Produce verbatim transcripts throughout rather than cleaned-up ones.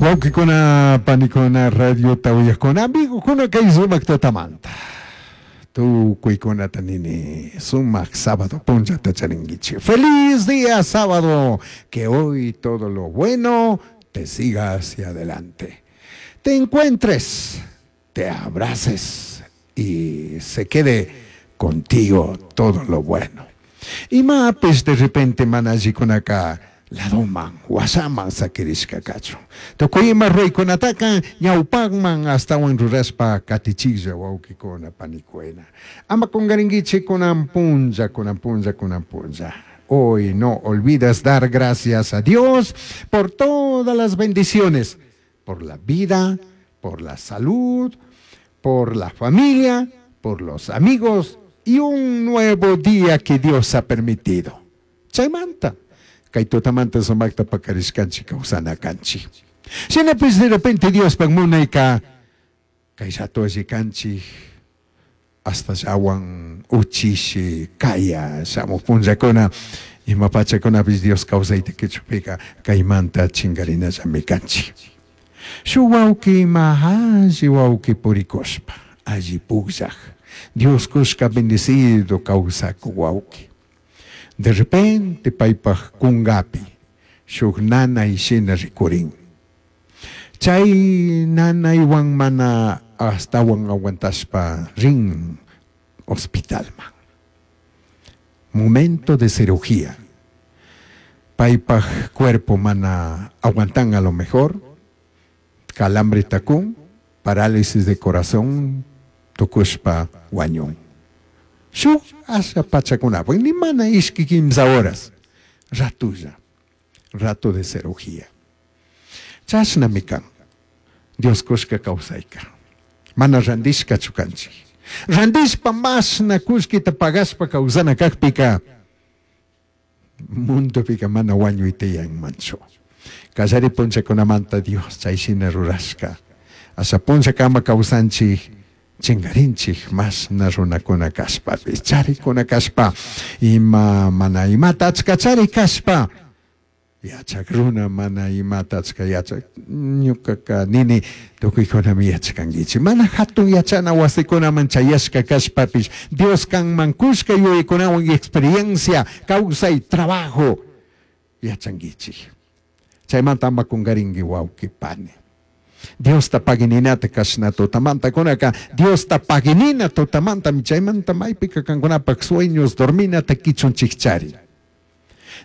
Wawqikuna, panikuna, radiota uyaqkuna, amigokuna kay sumaq tutamanta. Tukuykunata nini, sumaq sábado punllata charinkichik. Feliz día sábado, que hoy todo lo bueno te siga hacia adelante. Te encuentres, te abraces y se quede contigo todo lo bueno. Imapish de repente mana allikunaka ladoman, washaman sakirishka kachun. Tukuy ima ruraykunataka ñawpakman astawan rurashpa katichiklla wawqikuna panikuna. Ama kunkarinkichik kunan punlla, kunan punlla, kunan punlla. Hoy no olvides dar gracias a Dios por todas las bendiciones, por la vida, por la salud, por la familia, por los amigos y un nuevo día que Dios ha permitido. Chaymanta, kay tutamanta sumaqta pakarishkanchik kawsana kanchik. Shinapish de repente Diospak munayka kay rato alli kanchik hasta llawan uchishi kaya shamuq punllakuna ima pachakunapish Dios kawsayta kichupika kaymanta chinkarinallami kanchik. Shuk wawki ima alli wawki purikushpa alli pukllak Dios kushka bendecido kawsakuk wawki. De repente paypak kunkapi shuk nanay shina rikurin. Chay nanaywan mana astawan aguantashpa rin hospitalman. Momento de cirugía. Paypak cuerpo mana aguantan a lo mejor. Calambre takun, parálisis de corazón, tukushpa wañun. Shuk asha pachakunapak, ni mana ishki kimsa horas. Ratulla, rato de cirugía. Chashnami kan. Dios kushka kawsayka. Mana randishkachu kanchik. Randishpa mashna kullkita pagashpa kawsana kakpika mundopika mana wañuy tiyanmanchu. Kallari punllakunamanta Dios chay shina rurashka. Asha punllakama kawsanchik chinkarinchik mashna runakuna kashpapish charikuna kashpa ima mana imata achka charik kashpa yachak runa mana imata achka yachak ñukaka nini tukuykunami yachkankichik mana hatun yachana wasikunaman chayashka kashpapish Dios kanman kushka yuyaykunawan experiencia kawsay trabajo yachankichik chaymanta ama kunkarinki wawqi pani Diosta pagininata kashna tutamanta kunaka Diosta paginina tutamantami chaymanta maypika kankunapak sueños dorminata kichunchikchari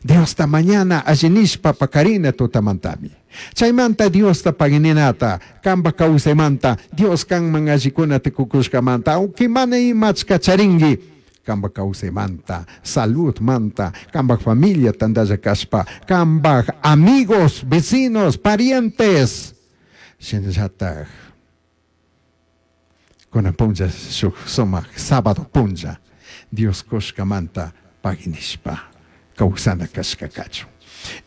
Diosta mañana allinishpa pakarina tutamantami chaymanta Diosta pagininata kanpa kawsaymanta Dios kanman allikunata kukushkamanta aunque mana imachka charinki kanpa kawsaymanta saludmanta kanpak familia tantalla kashpa kanpak amigos vecinos parientes shinallatak kunan punlla shuk sumak sábado punlla Dios kushkamanta paginishpa kawsana kashka kachun.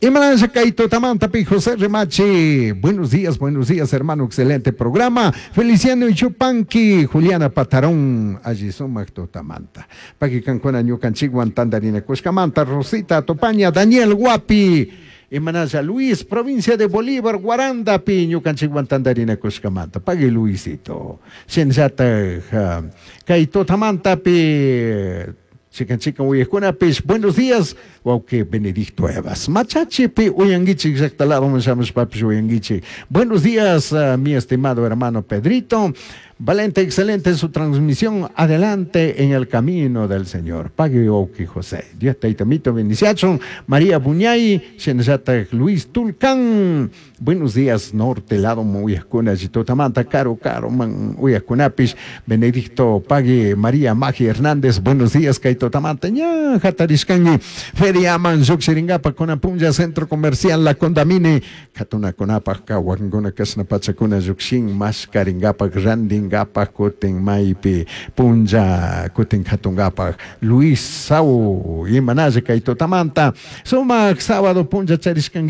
Imanasha kay tutamanta pi José Remache. Buenos días, buenos días, hermano. Excelente programa. Feliciano Chupanqui, Juliana Patarón, allí sumak tutamanta. Paki kankuna ñukanchikwan tandarina kushkamanta, Rosita Topaña, Daniel Guapi. Imanasha Luis, provincia de Bolívar, Guarandapi, ñukanchikwan tandarina kushkamanta. Pagui Luisito. Shinallatak, kay tutamantapi Chikan chikan uyaqkunapish, buenos días, wawqi Benedicto Evas. Machachipi uyankichik llaqta lado shamushpapish uyankichik. Buenos días, uh, mi estimado hermano Pedrito. Valente, excelente su transmisión. Adelante en el camino del Señor. Pagui wawqi José. Dios taytamito bendiciachun. María Buñay, shinallatak Luis Tulcán. Buenos días, norte lado uyaqkuna, tutamanta, caro, caro, man uyaqkunapish. Benedicto Pagui, María Magi Hernández. Buenos días, kay tutamanta. Ña, hatarishkanki. Feriaman, llukshiringapa, kunan punlla, Centro Comercial La Condamine. Katunakunapak, wakinkuna kashna pachakuna llukshin, mashkaringapak, randingapak, kutin maypi, punlla, kutin katungapak. Luis Sau, imanalla kay tutamanta. Sumak sábado punlla charishkanki.